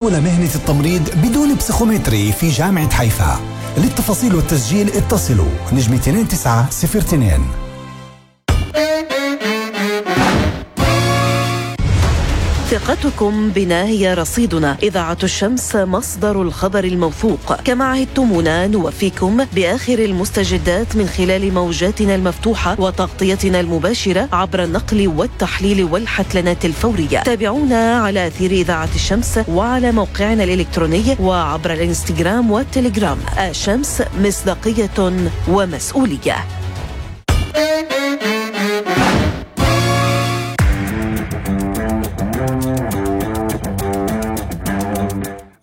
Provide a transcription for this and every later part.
مهنة التمريض بدون بسيخومتري في جامعة حيفا. للتفاصيل والتسجيل اتصلوا نجم 2902. ثقتكم بنا هي رصيدنا. إذاعة الشمس مصدر الخبر الموثوق. كما عهدتمونا نوفيكم بآخر المستجدات من خلال موجاتنا المفتوحة وتغطيتنا المباشرة عبر النقل والتحليل والحتلنات الفورية. تابعونا على أثير إذاعة الشمس وعلى موقعنا الإلكتروني وعبر الإنستغرام والتليجرام. الشمس مصداقية ومسؤولية.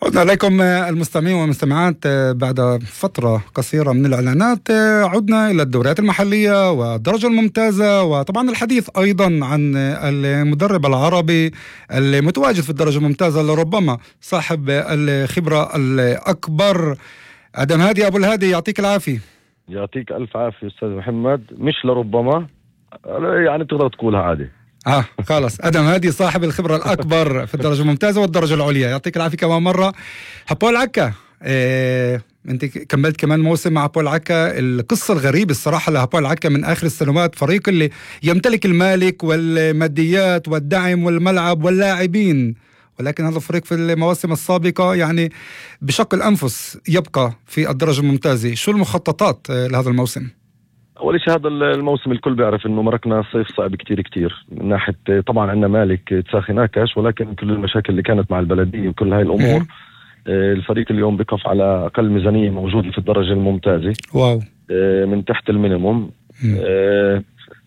عدنا عليكم المستمعين والمستمعات بعد فترة قصيرة من الإعلانات. عدنا إلى الدوريات المحلية والدرجة الممتازة، وطبعا الحديث أيضا عن المدرب العربي المتواجد في الدرجة الممتازة لربما صاحب الخبرة الأكبر، أدم هادي. أبو الهادي يعطيك العافية. يعطيك ألف عافية أستاذ محمد. مش لربما، يعني تقدر تقولها عادي. خلاص، أدم هادي صاحب الخبرة الأكبر في الدرجة الممتازة والدرجة العليا. يعطيك العافية كمان مرة. هابول عكا، أنت كملت كمان موسم مع هابول عكا. القصة الغريبة الصراحة لهابول عكا من آخر السنوات، فريق اللي يمتلك المالك والماديات والدعم والملعب واللاعبين، ولكن هذا الفريق في المواسم السابقة يعني بشق الأنفس يبقى في الدرجة الممتازة. شو المخططات لهذا الموسم؟ أول شيء هذا الموسم الكل بيعرف إنه مرقنا صيف صعب كتير من ناحية طبعا عندنا مالك تساخي ناكش، ولكن كل المشاكل اللي كانت مع البلدية وكل هاي الأمور الفريق اليوم بقف على أقل ميزانية موجودة في الدرجة الممتازة. واو. من تحت المينيموم.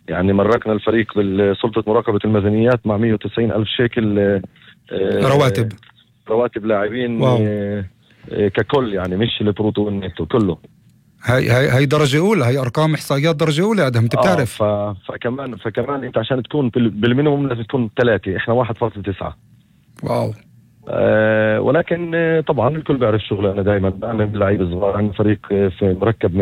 يعني مرقنا الفريق بسلطة مراقبة الميزانيات مع 190 ألف شيكل رواتب لاعبين ككل، يعني مش البروتو والنتو كله. هاي درجة أولى، هاي أرقام إحصائيات درجة أولى أدهم، أنت بتعرف. فكمان أنت عشان تكون بالمينيموم لازم تكون 3، إحنا 1.9. واو. ولكن طبعا الكل بيعرف شغله. أنا دائما بعمل لعيب صغار، عندي فريق في مركب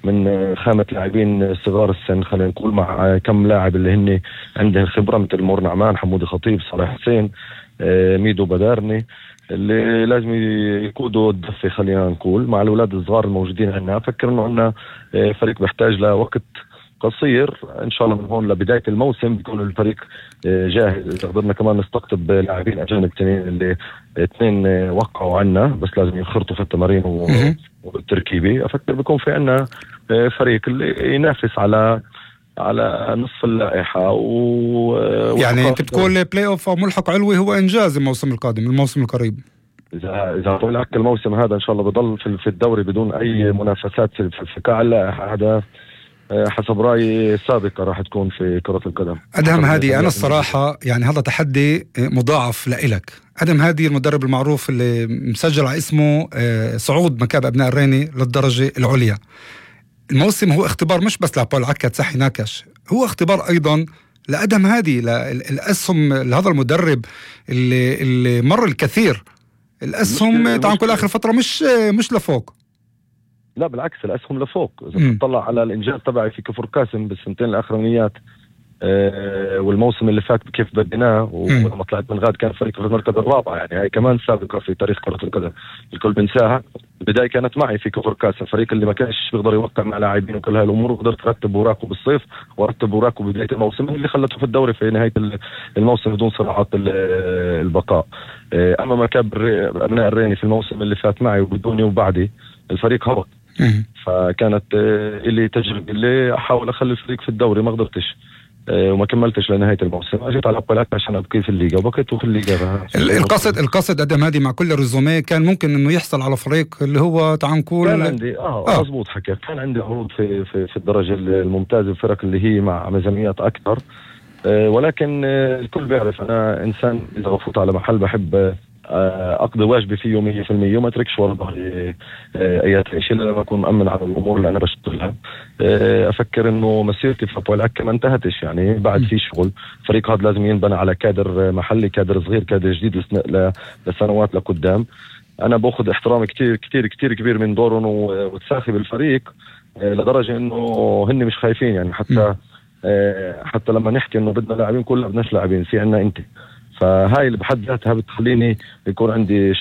من خامة لاعبين صغار السن، خلينا نقول، مع كم لاعب اللي هن عندهم خبرة مثل مور نعمان، حمودي خطيب، صالح حسين، ميدو بدارني، اللي لازم يقودوا الدفة خلينا نقول مع الأولاد الصغار الموجودين عندنا. أفكر إنه عندنا فريق بيحتاج لوقت قصير إن شاء الله من هون لبداية الموسم بيكون الفريق جاهز. قدرنا كمان نستقطب لاعبين أجانب اللي 2 وقعوا عنا، بس لازم ينخرطوا في التمارين والتركيبة. أفكر بيكون في عنا فريق اللي ينافس على نصف اللائحة يعني انت بتقول بلاي اوف او ملحق علوي هو انجاز الموسم القادم، الموسم القريب. اذا طول عك الموسم هذا ان شاء الله بضل في الدوري بدون اي منافسات في قاع اللائحة، هذا حسب رأيي سابقة راح تكون في كرة القدم. أدهم هادي، أنا الصراحة يعني هذا تحدي مضاعف لإلك. أدهم هادي المدرب المعروف اللي مسجل على اسمه صعود مكاب أبناء الريني للدرجة العليا. الموسم هو اختبار مش بس لهابول عكا تسحي ناكش، هو اختبار أيضا لأدهم هادي، الأسهم لهذا المدرب اللي مر الكثير. الأسهم تعال كل آخر فترة مش لفوق، لا بالعكس الأسهم لفوق. إذا تطلع على الإنجاز تبعي في كفر قاسم بالسنتين الأخرانيات والموسم اللي فات كيف بديناه، ولما طلعت من غاد كان فريق في المركز الرابع، يعني هاي كمان سابقة في تاريخ كرة القدم الكل بنساها. البداية كانت معي في كفر قاسم، فريق اللي ما كانش بيقدر يوقع مع لاعبين وكل هاي الأمور، وقدرت أرتب وراكه بالصيف وأرتب وراكه بداية الموسم اللي خلته في الدوري في نهاية الموسم بدون صراعات البقاء. أما مكاب أبناء الريني في الموسم اللي فات معي وبدوني وبعدي الفريق هبط. فكانت اللي تجربة اللي أحاول أخلي الفريق في الدوري، ما قدرتش وما كملتش لنهاية الموسم. أجيت على أبقى عشان أبقي في الليغا وبقيت في الليغا. القصد أدم هادي مع كل الرزوميه كان ممكن إنه يحصل على فريق اللي هو تعال نقول كان عندي مظبوط حكيت، كان عندي عروض في الدرجة الممتازة، الفرق اللي هي مع ميزانيات أكثر. ولكن الكل بيعرف أنا إنسان إذا بفوت على محل بحب أقضي واجبي فيه 100% وما أتركش ورا ظهري أي شيء لما أكون مأمن على الأمور اللي أنا بشتغلها. أفكر إنه مسيرتي في هابول عكا ما انتهتش، يعني بعد في شغل. الفريق هذا لازم ينبنى على كادر محلي، كادر صغير، كادر جديد لسنوات لقدام. أنا بأخذ احترام كتير كتير كتير كبير من دورهم وتساخي بالفريق لدرجة إنه هن مش خايفين، يعني حتى لما نحكي إنه بدنا لاعبين كلنا بدناش لاعبين، في عنا أنت فهاي اللي بحد ذاتها بتخليني يكون عندي